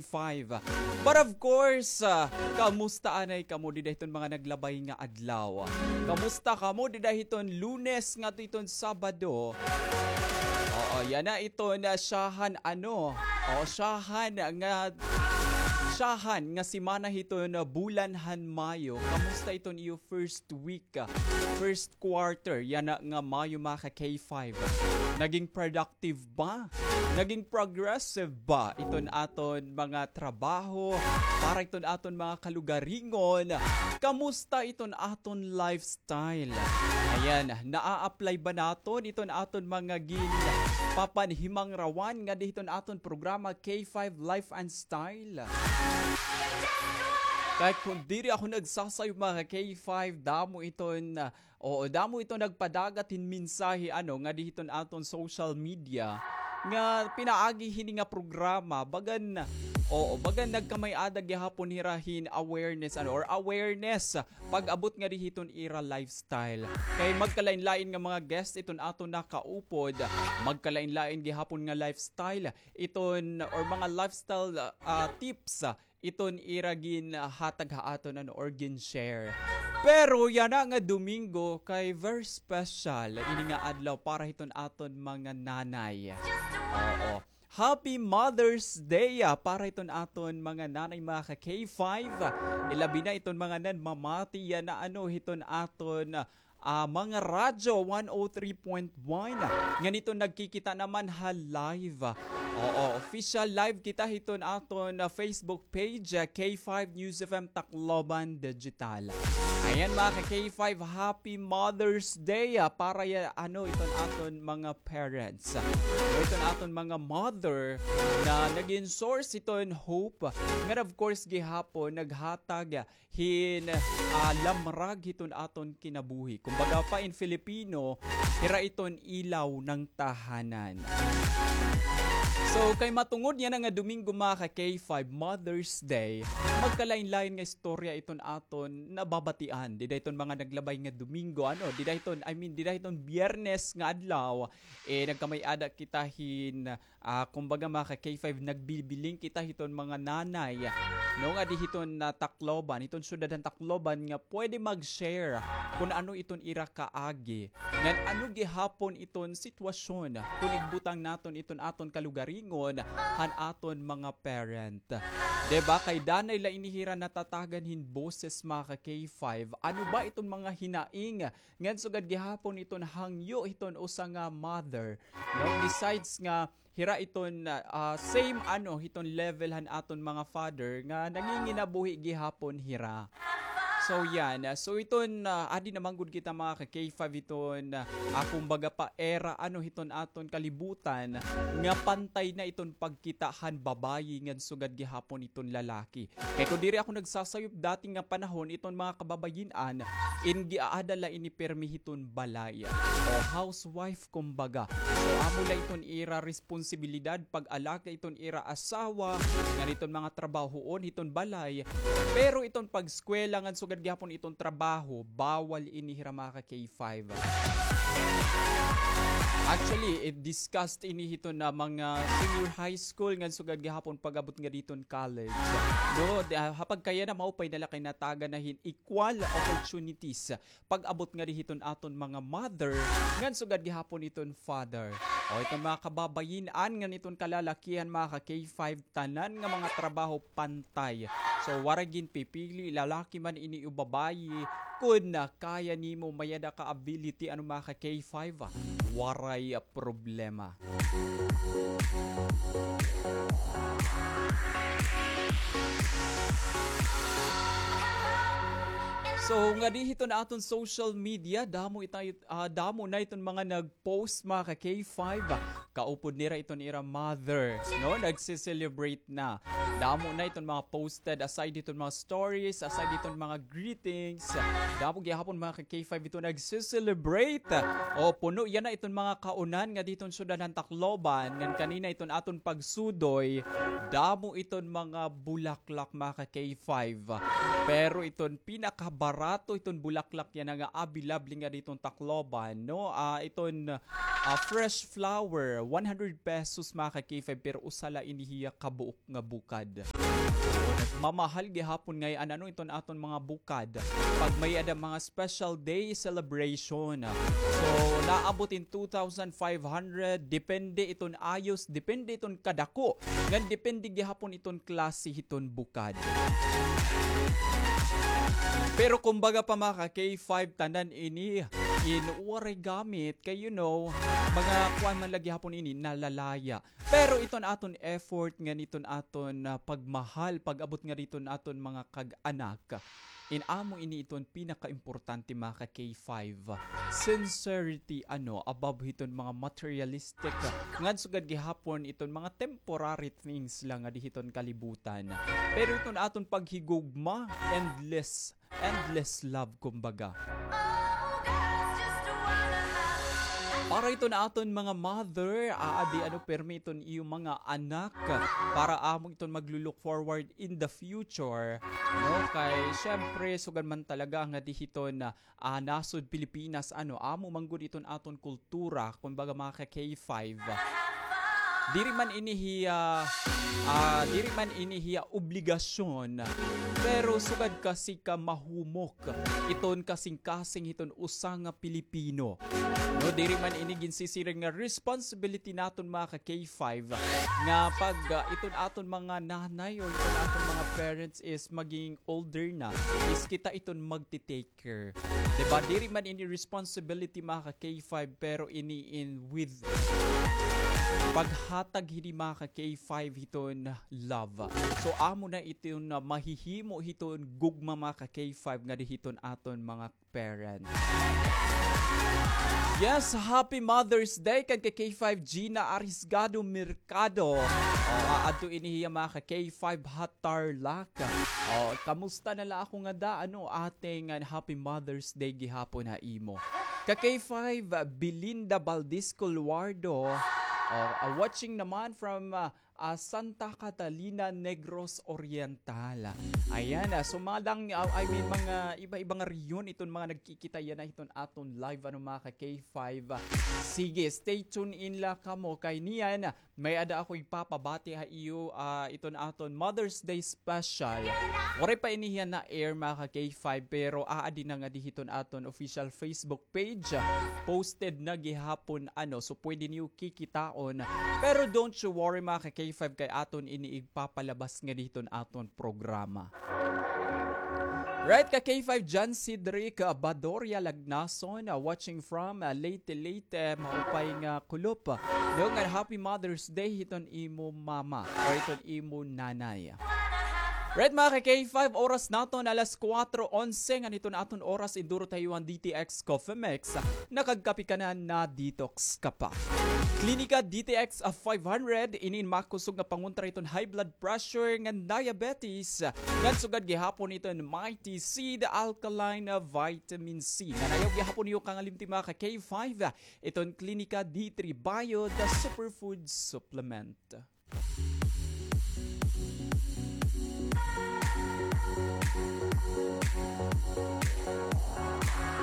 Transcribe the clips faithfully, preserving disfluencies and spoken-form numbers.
five. But of course, ah, kamusta anay kamo dida hiton mga naglabay nga adlaw? Kamusta kamo dida hiton Lunes ngadto hiton Sabado? Oo, yana iton, ah, syahan ano? O, syahan nga, syahan nga semana hiton, ah, bulan han Mayo. Kamusta iton iyo first week, ah, first quarter yana nga Mayo, mga ka K five? Naging productive ba? Naging progressive ba iton aton mga trabaho para iton aton mga kalugaringon? Kamusta iton aton lifestyle? Ayan, naa-apply ba naton iton aton mga ginpapanhimangrawan ngadi hiton aton programa K five Life and Style? Kay kon diri ako nagsasayop, mga K five, damo iton, ah, oo, damo iton nagpadagat hin mensahe, ano, ngadi hiton aton social media nga pinaagi hini nga programa, bagan, oo, bagan nagkamay-ada gihapon hira hin awareness, ano, or awareness pag-abot ngadi hiton ira lifestyle. Kay magkalain-lain nga mga guest iton aton nakaupod, magkalain-lain gihapon nga lifestyle iton, or mga lifestyle, ah, tips, ah, iton ira ginhatag ha aton, ano, or gin-share. Pero yana nga Domingo kay very special ini nga adlaw para hiton aton mga nanay. Oo. Happy Mother's Day, ah, para hiton aton mga nanay, mga ka K five. Ilabi na iton mga nanmamati yana, ano, hiton aton, ah, mga radyo one oh three point one. Ngan iton nagkikita naman ha live. Oo, official live kita hiton aton, ah, Facebook page, ah, K five News F M Tacloban Digital. Ayan, mga ka K five, happy Mother's Day, ah, para ya, ano, iton aton mga parents. Iton aton mga mother na naging source iton hope. Ngan of course gihapon naghatag hin, ah, lamrag hiton aton kinabuhi. Kumbaga pa in Filipino, hira iton ilaw ng tahanan. So, kay matungod yana nga Domingo, mga ka K five, Mother's Day, magkalain-lain nga istorya iton aton nababatian. Dida iton mga naglabay nga Domingo, ano, dida iton, I mean, dida iton Biyernes nga adlaw, eh, nagkamay-ada kita hin, ah, kumbaga, mga ka K five, nagbibiling kita hiton mga nanay, no, ngadi hiton, ah, Tacloban, hiton syudad han Tacloban nga pwede mag-share kun ano iton ira kaagi. Ngan ano gihapon iton sitwasyon kun igbutang naton iton aton kalugaringon han aton mga parent. Di ba? Kay danay la ini hira natatagan hin boses, mga ka K five. Ano ba iton mga hinaing ngan sugad gihapon iton hangyo hiton usa nga mother, no? Besides nga hira iton, ah, same ano hiton level han aton mga father nga nanginginabuhi gihapon hira. So yan, ah, so iton, ah, adi na man gud kita, mga ka K five, hiton, ah, kumbaga pa era ano hiton aton kalibutan nga pantay na iton pagkita han babayi ngan sugad gihapon iton lalaki. Kay kon diri ako nagsasayop dati nga panahon, iton mga kababayin-an, in giaada la ini pirmi hiton balay. O housewife, kumbaga. So, amo la iton ira responsibilidad, pag-alaga iton ira asawa, ngan iton mga trabahoon hiton balay. Pero iton pag-eskwela ngan sugad gihapon iton trabaho, bawal ini hira, mga ka K five. Actually, it discussed ini hiton mga senior high school ngan sugad gihapon pag-abot ngadi hiton college. No, di, ah, ha pagkayana maupay na la kay natagan na hin equal opportunities pag-abot ngadi hiton aton mga mother ngan sugad gihapon iton father. O iton mga kababayin-an ngan iton kalalakihan, mga ka K five, tanan nga mga trabaho pantay. So, waray ginpipili, lalaki man ini o babayi, kun kaya nimo, may-ada ka ability, ano, mga ka K five, ah, waray, ah, problema. So, ngadi hiton aton social media, damo ita-, ah, damo na iton mga nag- post, mga ka K five, ah, kaupod nira iton ira mother, no? Nagse-celebrate na. Damo na iton mga posted, aside hiton mga stories, aside hiton mga greetings. Damo gihapon, mga ka K five, iton nagse-celebrate. O, puno yana iton mga kaunan ngadi hiton syudad han Tacloban. Ngan kanina iton aton pagsudoy, damo iton mga bulaklak, mga ka K five. Pero iton pinakabarato iton bulaklak yana nga available ngadi hiton Tacloban, no? Ah, iton, ah, fresh flower, one hundred pesos, mga ka-K five, pero usa la ini hiya kabuok nga bukad. Mamahal gihapon ngay-an ano iton aton mga bukad pag may-ada mga special day celebration. So, naabot in two thousand five hundred, depende iton ayos, depende iton kadako, ngan depende gihapon iton klase hiton bukad. Pero kumbaga pa, mga ka-K five, tanan ini in waray gamit kay, you know, mga kuan man la gihapon ini, nalalaya. Pero iton aton effort ngan iton aton, ah, pagmahal, pag-abot nga diton aton mga kag-anak, in amo ini iton pinakaimportante, mga ka-K five. Sincerity, ano, above hiton mga materialistic, ngan sugad gihapon iton mga temporary things la nga di hiton kalibutan. Pero iton aton paghigugma, endless endless love, kumbaga. Para iton aton mga mother, aadi ano, pirmi iton iyo mga anak, para amo iton maglo-look forward in the future, no? Kay, syempre, sugad man talaga nga di hiton, ah, nasod Pilipinas, ano, amo man gud iton aton kultura, kumbaga, mga ka-K five. Diri man ini hiya, ah, diri man ini hiya obligasyon, pero sugad kasi ka mahumok iton kasingkasing hiton usa nga Pilipino. No, diri man ini ginsisiring nga responsibility naton, mga ka-K five, nga pag, ah, iton aton mga nanay or iton aton mga parents is maging older na, is kita iton magti-take care. Diba? Diri man ini responsibility, mga ka-K five, pero ini in with paghatag hini, mga ka-K five, hiton love. So, amo na iton, ah, mahihimo hiton gugma, mga ka-K five, nga di hiton aton mga parents. Yes, happy Mother's Day kan ka-K five Gina Arisgado Mercado. O, aadto ini hiya, mga ka-K five, ha Tarlac. O, kamusta na la ako ngada, ano, ate, ngan happy Mother's Day gihapon ha imo. Ka-K five, Belinda Valdez Coluardo. O, ah, watching naman from, ah, ah, Santa Catalina, Negros Oriental. Ayan, ah, so madang, ah, I mean, mga iba-iba nga rehiyon iton mga nagkikita yana hiton aton live, ano, mga ka-K five. Sige, stay tuned in la kamo kay niyan, may-ada ako igpapabati ha iyo, ah, iton aton Mother's Day special. Waray pa ini hiya na-air, mga ka-K five, pero aadi na ngadi hiton aton official Facebook page. Posted na gihapon, ano, so pwede niyo kikitaon. Pero don't you worry, mga ka-K five, kay aton ini igpapalabas ngadi hiton aton programa. Right, ka-K five, John Cedric, ah, Badoria Lagnason, ah, watching from, ah, Leyte, Leyte, maupay nga kulop. Dunggan, happy Mother's Day hiton imo mama or hiton imo nanay. Right, mga ka-K five, oras naton alas kuwatro onse, ngan hiton aton oras, induro ta ha iyo an D T X Coffee Mix. Nakagkape ka na, na-detox ka pa. Klinika D T X five hundred, ini in makusog nga pangontra hiton high blood pressure ngan diabetes. Ngan sugad gihapon iton Mighty Seed Alkaline Vitamin C. Ngan ayaw gihapon niyo kangalimti, mga ka-K five, iton Klinika D three Bio, the superfood supplement.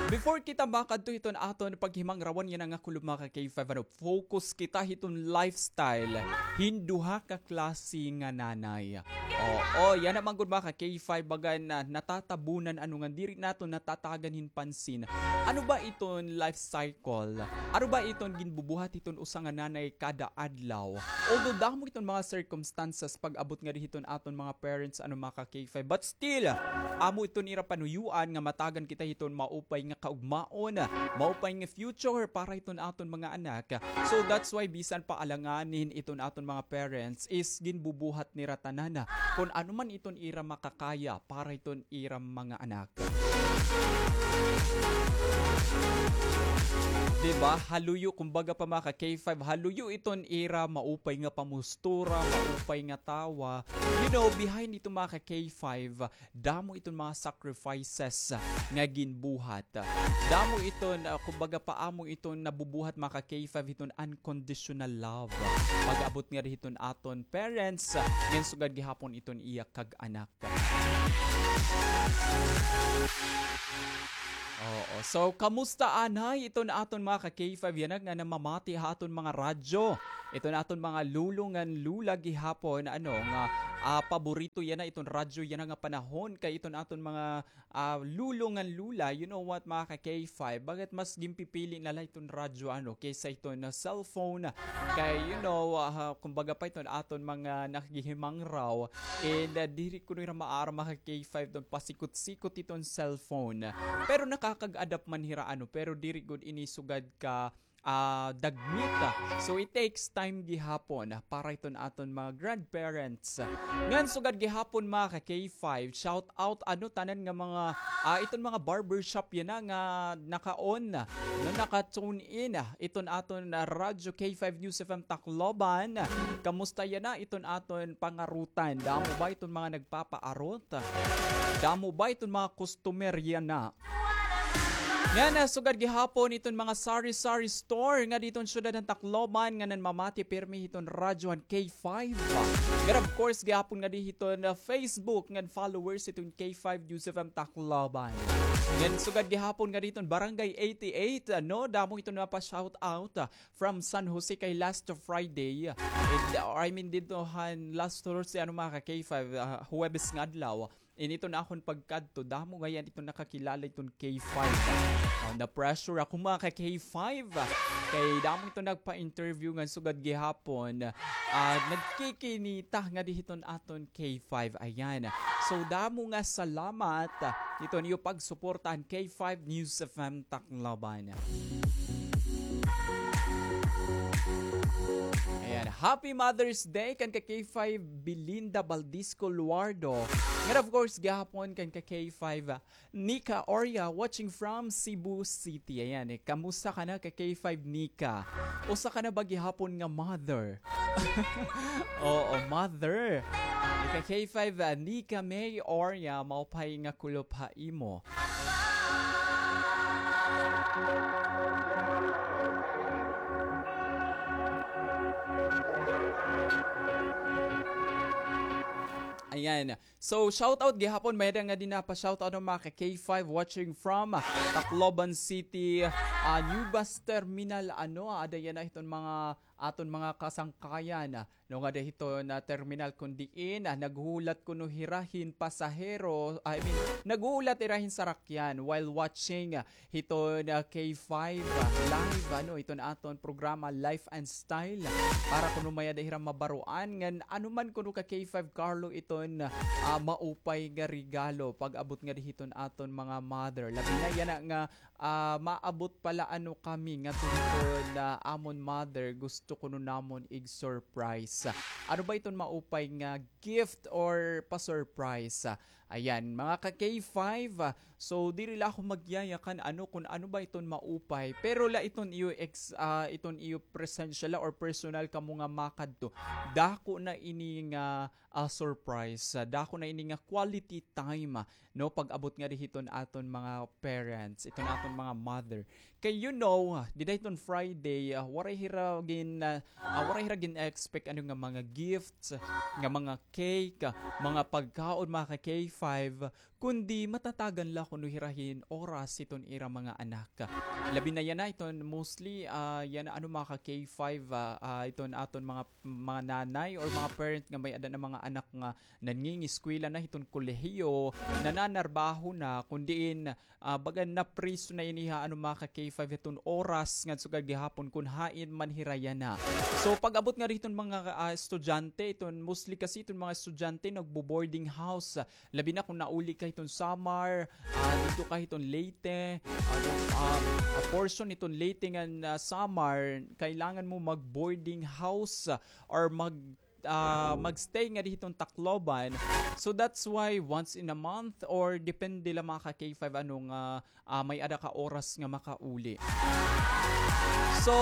Before kita makadto hiton aton paghimangrawan yana nga kulop, mga ka-K five, ano, focus kita hiton lifestyle hin duha ka klase nga nanay. Oo, yana man gud, mga ka-K five, baga na natatabunan, ano, nga diri naton natatagan hin pansin. Ano ba iton life cycle? Ano ba iton ginbubuhat hiton usa nga nanay kada adlaw? Although damo iton mga circumstances pag-abot ngadi hiton aton mga parents, ano, mga ka-K five, but still, amo iton ira panuyoan nga matagan kita hiton maupay nga kaugmaon, maupay nga future para hiton aton mga anak. So that's why bisan pa alanganin iton aton mga parents is ginbubuhat nira tanan kon ano man iton ira makakaya para hiton ira mga anak. Di ba? Haluyo, kumbaga pa, mga ka-K five, haluyo iton ira maupay nga pamustura, maupay nga tawa. You know, behind ito, mga ka-K five, damo iton mga sacrifices nga ginbuhat. Damo iton, ah, kumbaga pa, amo iton nabubuhat, mga ka-K five, hiton unconditional love. Pag-abot ngadi hiton aton parents, ngan sugad gihapon iton iya kag-anak. Oo. So, kamusta anay iton aton mga ka K five yana nga namamati ha aton mga radyo? Iton aton mga lolo ngan lola gihapon, ano, nga, ah, paborito yana iton radyo yana nga panahon kay iton aton mga, ah, lolo ngan lola, you know what, mga ka K five, bakit mas ginpipili na la iton radyo, ano, kaysa iton, ah, cellphone? Kay, you know, ah, kumbaga pa iton aton mga nakagihimangraw, and, ah, diri kuno hira maaram, mga ka K five, iton pasikot-sikot iton cellphone. Pero nakakag-adapt man hira, ano, pero diri gud ini sugad ka, ah, dagmit. So, it takes time gihapon para iton aton mga grandparents. Ngan sugad gihapon, mga ka K five, shout out, ano, tanan nga mga, ah, iton mga barbershop yana nga naka-on, no, naka-tune in, ah, iton aton, ah, Radyo K five News F M Tacloban. Kamusta yana iton aton pangarutan? Damo ba iton mga nagpapaarot? Damo ba iton mga customer yana? Yana, sugad gihapon iton mga sari-sari store nga diton syudad han Tacloban nga nanmamati pirmi hiton radyo han K five. Ngan of course, gihapon nga dihiton, ah, Facebook ngan followers iton K five News F M Tacloban. Ngan sugad gihapon nga dihiton Barangay eighty-eight, ano, damo iton napa-shout out, ah, from San Jose kay last Friday. And, ah, I mean, didto han last Thursday, ano, mga ka K five, ah, Huwebes nga adlaw. Ini iton akon pagkadto, damo ngay-an iton nakakilala iton K five. Ah, na-pressure ako, mga ka K five. Kay damo iton nagpa-interview ngan sugad gihapon, ah, nagkikinita ngadi hiton aton K five. Ayan. So, damo nga salamat, ah, hiton iyo pagsuporta han K five News F M Tacloban. Ayan. Happy Mother's Day kan ka K five Belinda Baldisco Luardo. Ngan of course, gihapon kan ka K five, ah, Nika Oria, watching from Cebu City. Ayan, eh, kamusta ka na ka K five Nika? Usa ka na ba gihapon nga mother? Oo, mother. Ika K five, ah, Nika May Oria, maupay nga kulop ha imo. Ayan. So, shout out gihapon, may-ada ngadi napa-shout out, mga ka K five, watching from, ah, Tacloban City, ah, New Bus Terminal, ano, ada yana hiton mga, aton mga kasangkayan, ah, no, ngadi hiton terminal kun diin, ah, naghuhulat kuno hira hin pasahero, I mean, naghuhulat hira hin sarakyan while watching, ah, hiton, ah, K five, ah, live, ano, hiton aton programa Life and Style. Para kuno may-ada hira mabaroan ngan ano man kuno ka K five Carlo iton, ah, maupay nga regalo pag-abot ngadi hiton aton mga mother. Labi na yana nga, ah, maabot pa la, ano, kami ngadto hiton amon mother, gusto kuno namon ig-surprise. Ano ba iton maupay nga gift or pa-surprise? Ayan, mga ka K five, ah, so diri la ako magyayakan ano kun ano ba iton maupay, pero la iton iyo ex-, ah, iton iyo presensya la or personal kamo nga makadto. Dako na ini nga, ah, surprise, ah, dako na ini nga quality time, ah, no, pag-abot ngadi hiton aton mga parents, iton aton mga mother. Kay, you know, dida hiton Friday, ah, waray hira gin-, ah, ah, waray hira gin-expect ano nga mga gifts, nga mga cake, ah, mga pagkaon, mga ka K five, kundi matatagan la kuno hira hin oras hiton ira mga anak. Labi na yana iton mostly, ah, yana ano mga ka K five, ah, ah, iton aton mga, mga nanay or mga parent nga may-ada na mga anak nga nangingiskwela na hiton kolehiyo, nananarbaho na, kun diin, ah, baga napriso na ini ha, ano, mga ka K five hiton oras ngan sugad gihapon kun hain man hira yana. So, pag-abot ngadi hiton mga, ah, estudyante, iton mostly kasi iton mga estudyante nagbo-boarding house. Labi na kun nauli ka hiton Samar, ah, didto ka hiton Leyte, ah, ah, ah, portion hiton Leyte ngan, ah, Samar, kailangan mo mag-boarding house, ah, or mag- ah, magstay ngadi hiton Tacloban. So that's why once in a month or depende la mga ka K five ano nga, ah, may-ada ka oras nga makauli. So,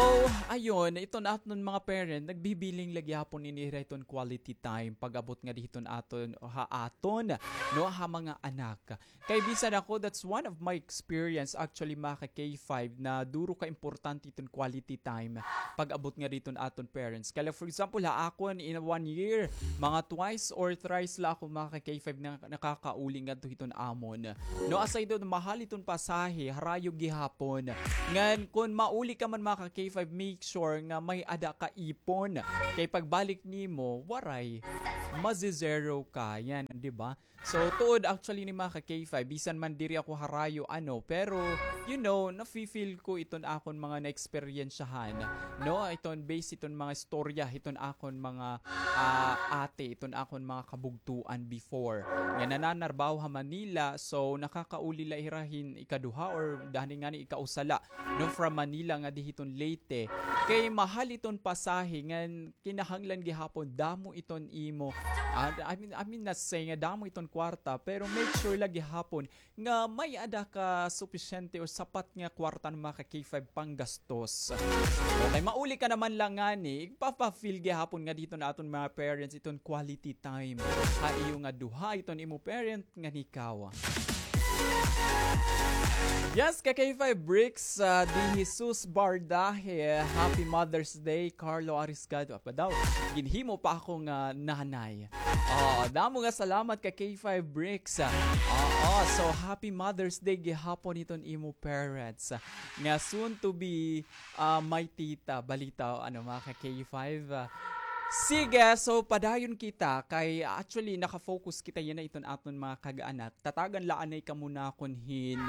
ayun, iton aton mga parent, nagbibiling la gihapon ini hira iton quality time pag-abot ngadi hiton aton, ha aton, no, ha mga anak. Kay bisan ako, that's one of my experience actually, mga ka K five, na duro ka importante iton quality time pag-abot ngadi hiton aton parents. Kay, like, for example, ha akon, in one year, mga twice or thrice la ako, mga ka K five, na nakakauli ngadto hiton amon. No, aside doon, mahal iton pasahe, harayo gihapon. Ngan, kun mauli ka man, mga ka K five, make sure nga may-ada ka ipon. Kay pagbalik nimo, waray. Mazi-zero ka. Yan, di ba? So, tuod actually ni, mga ka K five, bisan man diri ako harayo, ano, pero, you know, nafi-feel ko iton akon mga naeksperyensyahan, no? Iton base iton mga istorya, iton akon mga, ah, ate, iton akon mga kabugtuan before. Nga nananarbaho ha Manila, so, nakakauli la hira hin ikaduha or dani ngani ikausa la, no, from Manila ngadi hiton Leyte. Kay mahal iton pasahe, ngan kinahanglan gihapon damo iton imo. Ah, I mean, I mean, not say nga damo iton kwarta, pero make sure la gihapon nga may-ada ka supisyente o sapat nga kwarta, mga ka K five, panggastos. Okay, mauli ka naman la ngani, igpapa-feel gihapon ngadi hiton aton mga parents iton quality time ha iyo nga duha, iton imo parent ngan ikaw. Yes, ka K five Bricks, ah, De Jesus Bardahe, happy Mother's Day, Carlo Arisgado. Apa daw? Ginhimo pa ako nga nanay. Oh, damo nga salamat ka K five Bricks. Ah, oo, so happy Mother's Day gihapon iton imo parents. Nga soon to be, ah, my tita. Balita, ano, mga ka K five, ah. Sige, so padayon kita kay actually naka-focus kita yana iton aton mga kag-anak. Tatagan la anay kamo nakon hin,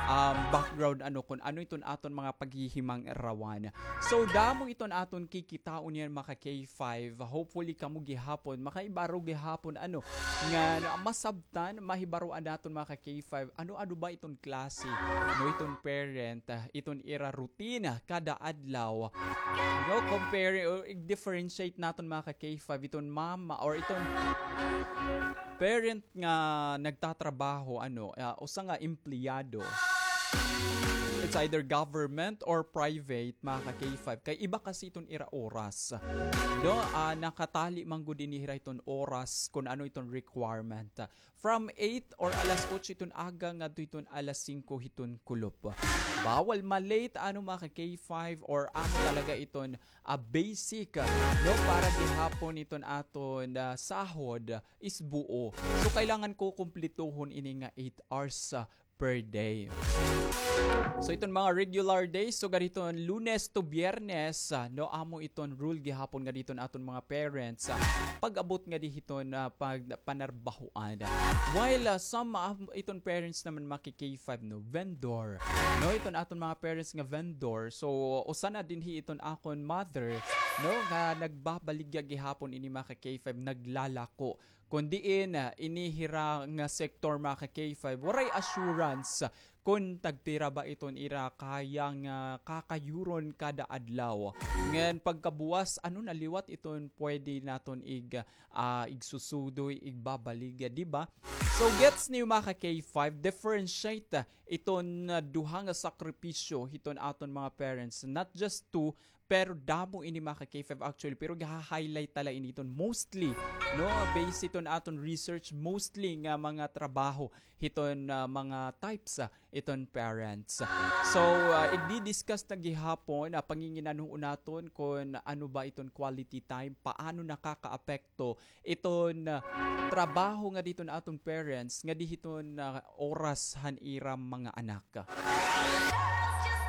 um, background, ano, kun ano iton aton mga paghihimangarawan. So damo iton aton kikitaon yana, mga ka K five. Hopefully kamo gihapon, makaibaro gihapon, ano, nga masabtan, mahibaroan naton, mga ka K five, ano-ano ba iton klase, no, iton parent, ah, iton ira routine kada adlaw. No, compare or i-differentiate naton, mga ka K five, iton mama or iton parent nga nagtatrabaho, ano, ah, usa nga empleyado. It's either government or private, mga ka K five. Kay iba kasi iton ira oras. No, ah, nakatali man gud ini hira iton oras kun ano iton requirement. From eight or alas otso iton aga ngadto iton alas singko hiton kulop. Bawal ma-late, ano, mga ka K five, or amo talaga iton, ah, basic, ah, no, para gihapon iton aton, ah, sahod is buo. So, kailangan ko kumplituhon ini nga eight hours, ah, per day. So, iton mga regular days, so, gad hiton Lunes to Biyernes, ah, no, amo iton rule gihapon ngadi hiton aton mga parents, ah, pag-abot ngadi hiton, ah, pag-, panarbahoan. While, ah, some, ah, iton parents naman, mga ka K five, no, vendor. No, iton aton mga parents nga vendor. So, usa na dinhi iton akon mother, no, nga nagbabaligya gihapon ini, mga ka K five, naglalako. Kun diin, ah, ini hira nga sektor, mga ka K five, waray assurance kun tagpira ba iton ira kaya nga kakayuron kada adlaw. Ngan pagkabuwas, ano na liwat iton pwede naton ig-, ah, igsusudoy, igbabaligya, di ba? So, gets niyo, mga ka K five, differentiate, ah, iton, ah, duha nga sakripisyo hiton aton mga parents. Not just two, pero damo ini, mga ka K five, actually, pero gaha-highlight ta la ini iton mostly, no, based iton aton research, mostly nga mga trabaho hiton, ah, mga types, ah, iton parents. So, ah, igdi-discuss ta gihapon, ah, panginginanhuon naton kun ano ba iton quality time, paano nakakaapekto iton, ah, trabaho ngadi hiton aton parents, ngadi hiton, ah, oras han ira mga anak.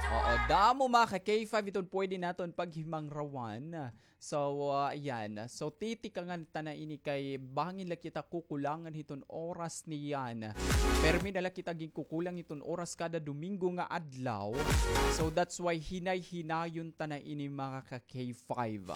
Oo, damo, mga ka K five, iton pwede naton paghimangrawan. So, ah, ayan. So, titikangan ta na ini kay bangin la kita kukulangan hiton oras niyan. Permi na la kita ginkukulang hiton oras kada Domingo nga adlaw. So, that's why hinay-hinayon ta na ini, mga ka K five.